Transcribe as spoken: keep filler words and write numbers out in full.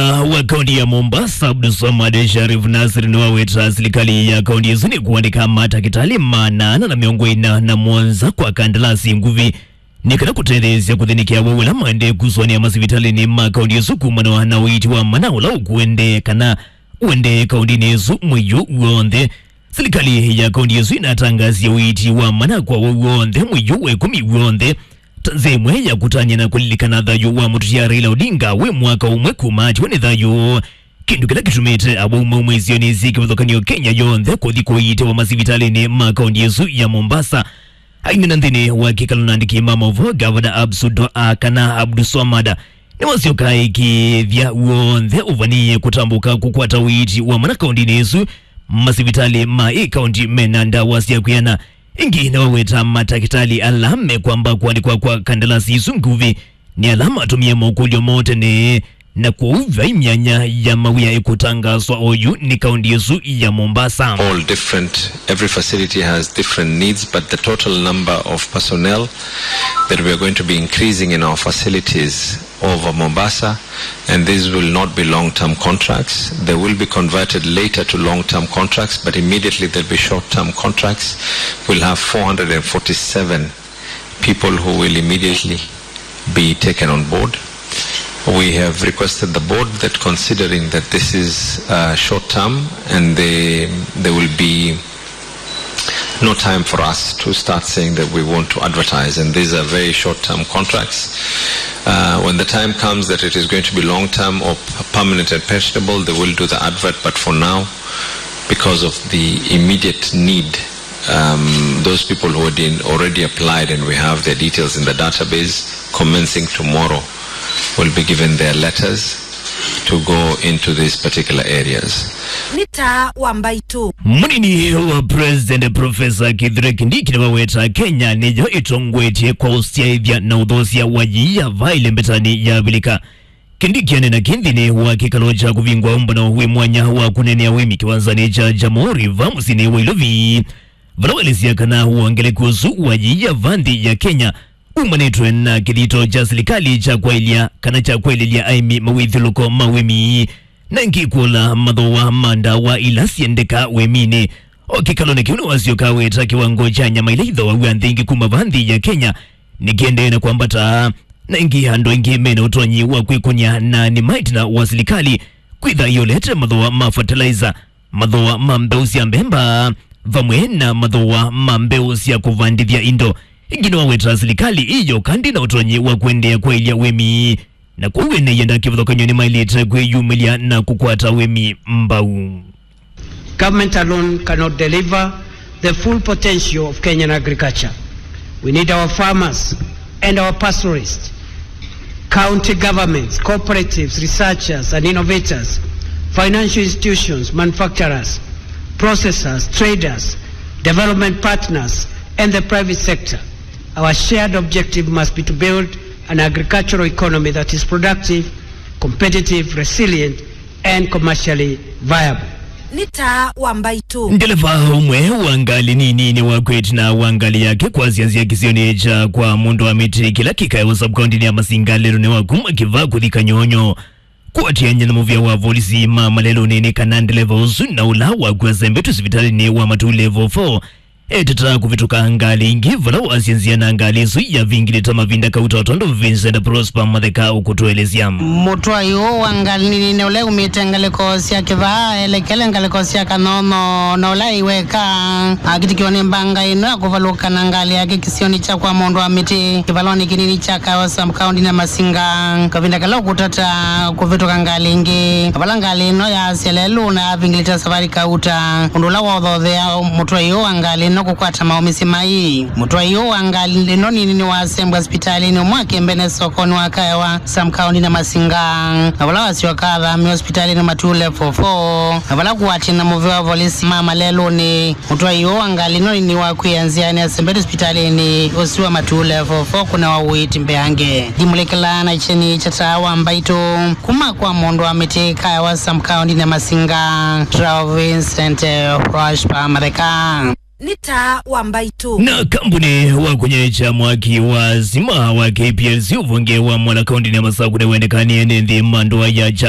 Wa kaunti ya Mombasa, Abdulswamad Sharif Nasir, nĩwaweta silikalĩ ya kaunti ĩsu nĩ kũandĩka matakĩtalĩ maana ana na mĩongo ĩna na mũonza kwa kandalasi nguvĩ nĩ kana kũtetheesya kũthĩnĩkĩa wau ũla maendee kũsũanĩa masivitalĩnĩ ma kaunti ĩsu kumana na ũiiti wa mana ũla ũkũendee kana ũendee kauntinĩ ĩsu mwei ũũ w'onthe. Silikalĩ ya kaunti ĩsu ĩnatangasie ũiiti wa mana kwa wau w'onthe mwei ũũ wa ĩkũmi w'onthe ta nzĩa ĩmwe ya kũtany'a na kũlilikana thayũ wa mũtũtia Raila Odinga wĩ mwaka ũmwe kuma atiwa nĩ thayũ, kĩndũ kĩla kĩtumĩte awau mauma isionĩ syĩ kĩvathũkany'o Kenya yonthe kũthi kũiitĩwa masivitalĩnĩ ma kaunti ĩsu ya Mombasa. Aineena nthĩnĩ wa kĩkalo na andĩki ma maũvoo, Gavana Absudo a kana Abdulswamad nĩwasyoka ĩkĩĩthya w'onthe ũvanie kũtambũka kũkwata ũiiti wa mana kauntinĩ ĩsu, masivitalĩ ma ĩ kaunti mena ndawa sya kwĩana. Ĩngĩ nĩwaweta matakĩtalĩ ala mekwamba kũandĩkwa kwa kandalasi isu nguvĩ nĩ ala matũmie mokũlyo moo tene, na kwoou vai myanya ya mawĩa ĩkũtangaswa oyu nĩ kaunti ĩsu ya Mombasa. All different, every facility has different needs, but the total number of personnel that we are going to be increasing in our facilities over Mombasa, and these will not be long-term contracts. They will be converted later to long-term contracts, but immediately they'll be short-term contracts. We'll have four hundred forty-seven people who will immediately be taken on board. We have requested the board that, considering that this is, uh, short-term and they, there will be no time for us to start saying that we want to advertise, and these are very short-term contracts. Uh, when the time comes that it is going to be long-term or p-, permanent and pensionable, they will do the advert, but for now, because of the immediate need, um, those people who had been already applied and we have their details in the database, commencing tomorrow, will be given their letters to go into these particular areas. Nĩ taa wa mbaitũ. Mũnini wa President Professor Kithure Kindiki nĩwaweta Kenya nĩyo ĩtongoetye kwa ũsyaĩthya na ũthoosya wa yiia va ĩlembetanĩ ya Avilika. Kindiki aneena kĩĩ nthĩnĩ wa kĩkalo kya kũvingwa ũmbano wĩ mwanya wa kũneenea ũĩmi kĩwanzanĩ kya Jamhuri va mũsyĩnĩ wa Ilovi, vala waelesya kana wongelekũ ũsu wa yiia va nthĩ ya Kenya umanĩtwe na kĩthito kya silikalĩ kya kwaĩlya kana kya kwaĩlĩlya aĩmi mawĩthyũlũko ma ũĩmi, na ĩngĩ kũla mathooa ma ndawa ila syendeka ũĩminĩ. O kĩkalonĩ kĩu nĩwasyoka weta kĩwango kya nyama ila ithooaw'a nthĩ ingĩ kuma va nthĩ ya Kenya nĩkĩendee na kwambata, na ĩngĩ andũ aingĩ mena ũtonyi wa kwĩkũnĩa na nĩmaĩtina wa silikalĩ kwĩtha ĩolete mathooa ma fertilizer, mathooa ma mbeũ sya mbemba, vamwe na mathooa ma mbeũ sya kũvandĩthya indo. Ĩngĩ nĩwaweta silikalĩ ĩyo kandi na ũtonyi wa kũendeea kwaĩlya ũĩmi, na kwoou ene ianda kĩvathũkany'o nĩmaĩlĩte kwĩyumĩlya na kũkwata ũĩmi mbau. Government alone cannot deliver the full potential of Kenyan agriculture. We need our farmers and our pastoralists, county governments, cooperatives, researchers and innovators, financial institutions, manufacturers, processors, traders, development partners, and the private sector. Our shared objective must be to build an agricultural economy that is productive, competitive, resilient, and commercially viable. Nĩ taa wa mbaitũ. Ndeleva ũmwe wa ngalĩ nini nĩwakwĩte na wa ngalĩ yake kwasya nzĩa kĩsionĩ kya kwa Mũndũ wa Mĩtĩ kĩla kĩkaewa sub-county-nĩ ya Masinga lelũnĩ wa kuma Kĩvaa kũthi Kanyonyo. Kũatĩanĩa na mũvĩa wa volisi ma malelũnĩ nĩ kana ndeleva ũsu na ũla wakw'a asembetwe sivitalĩnĩ wa Matu Level four eteta kũvĩtũka ngalĩ ingĩ vala wasya nzĩa na ngalĩ ĩsu yavingĩlĩte mavinda kauta, o tondũ Vincent Prosper Matheka ũkũtũelesya. Mũtwai ũũ wa ngalĩ nini ũla umĩte ngalĩko sya Kĩvaa elekele ngalĩko sya Kanyonyo na ũla aiweka akitikiwa nĩ mbanga ĩno ya kũvalũka na ngalĩ yake kĩsionĩ kya kwa Mũndũ wa Mĩtĩ kĩvalonĩ kĩnini kya Kaewa sub-county-nĩ ya Masinga kavinda kala ũkũtata kũvĩtũka ngalĩ ĩngĩ, vala ngalĩ ĩno yaasya lelũ na yavingĩlĩte savarĩ kauta, ũndũ ũla waũthothea mũtwai ũũ wa ngalĩ ĩno kũkwata maũmĩsye mai. Mũtwai ũũ wa ngalĩ ĩno nini nĩwasembwa sipitalĩnĩ ũmwe wa Kĩmbene sokonĩ wa Kaewa sub-county-nĩ ya Masinga, na vala wasyoka athamĩwa sipitalĩnĩ Matu Level four, na vala kũatĩanĩa na mũvĩa wa volisi ma malelũnĩ, mũtwai ũũ wa ngalĩ ĩno nĩwakw'ĩĩa nzĩanĩ asembetwe sipitalĩnĩ ũsu wa Matu Level four kũnewa ũiiti mbeange. Ndimũlĩkĩlaa na kyeni kya taa wa mbaitũ kuma kwa Mũndũ wa Mĩtĩ Kaewa sub-county-nĩ ya Masinga, Vincent Prosper Matheka. Nĩ taa wa mbaitũ. Na kambuni wa kũnyaĩĩkya mwaki wa sima wa K P L C ũvonge wa Mwala kaunti-nĩ ya Masaku nĩwendekanie nĩ nthĩ ma ndũa ya